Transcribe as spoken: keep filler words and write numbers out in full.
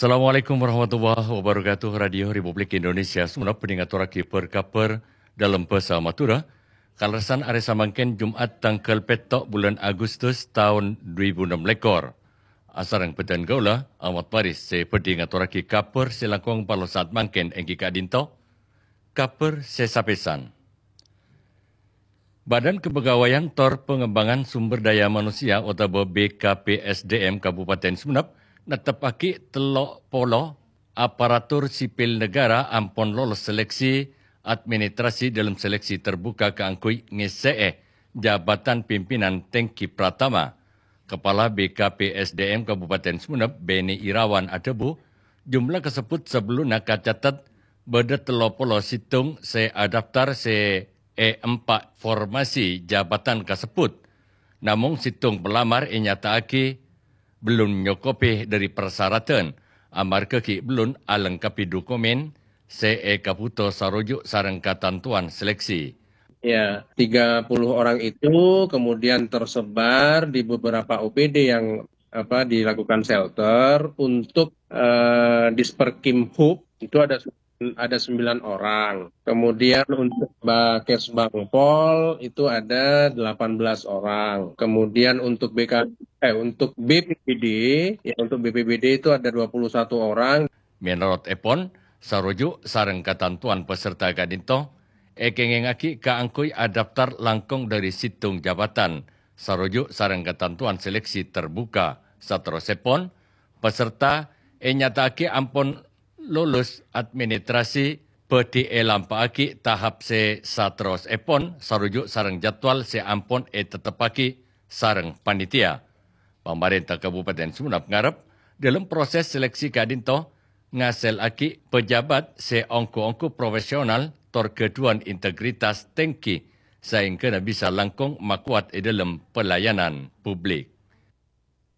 Assalamualaikum warahmatullahi wabarakatuh. Radio Republik Indonesia Sumenep bhâdhi ngatorraghi bâr-kabhâr dâlem bhâsa Madhurâ. Kalerressan arè samangkèn Jum'at tangghâl pètto' bulân Agustus taon du èbu ennem lèkor. Asareng bhâdhân kaulâ, Ahmad Faris, sè bhâdhi ngatorraghi kabhâr sè langkong parlo saat mangkèn èngghi ka'dinto. Kabhâr sè sapèsan. Badan Kepegawaian tor Pengembangan Sumber Daya Manusia otabâ B K P S D M Kabupaten Sumenep netteppaghi tello polo aparatur sipil negara ampon lolos seleksi administrasi dâlem seleksi terbuka kaangghuy ngessè'è jabatan pimpinan tèngghi pratama. Kepala B K P S D M Kabupaten Sumenep, Beni Irawan adhâbu, jumlah kasebbhut sabellunna kacatet bâdâ tello polo sèttong sè adaftar sè è empa' formasi jabatan kasebbhut. Namong sèttong pelamar ènyata'aghi bellun nyokobhi dhâri parsaradhân, amarghâ ghi' bellun alengkabhi dokumen sè èkabhuto saroju' sareng katantowan seleksi. Ya, tiga puluh orang itu kemudian tersebar di beberapa O P D yang, apa, dilakukan shelter untuk, eh, Disperkim Hub itu ada ada sembilan orang. Kemudian untuk Bakes Bangpol itu ada delapan belas orang. Kemudian untuk B K, eh, untuk B P B D, ya, untuk B P B D itu ada dua puluh satu orang. Mènorot èpon, saroju' sareng katantowan peserta ka'dinto èkèngèngaghi kaangghuy adaftar langkong dhâri sèttong jabatan, saroju' sareng katantowan seleksi terbuka. Saterrossèpon, peserta ènyata'aghi ampon lolos administrasi bhâdhi èlampa'aghi tahap sè saterrossèpon saroju' sareng jadwal sè ampon ètetteppaghi sareng panitia. Pamarènta Kabupaten Sumenep ngarep, dâlem proses seleksi ka'dinto ngasèllaghi pejabat sè ongghu-ongghu profesional tor ghâdhuwân integritas tèngghi saèngghâna bisa langkong makowat è dâlem pelayanan publik.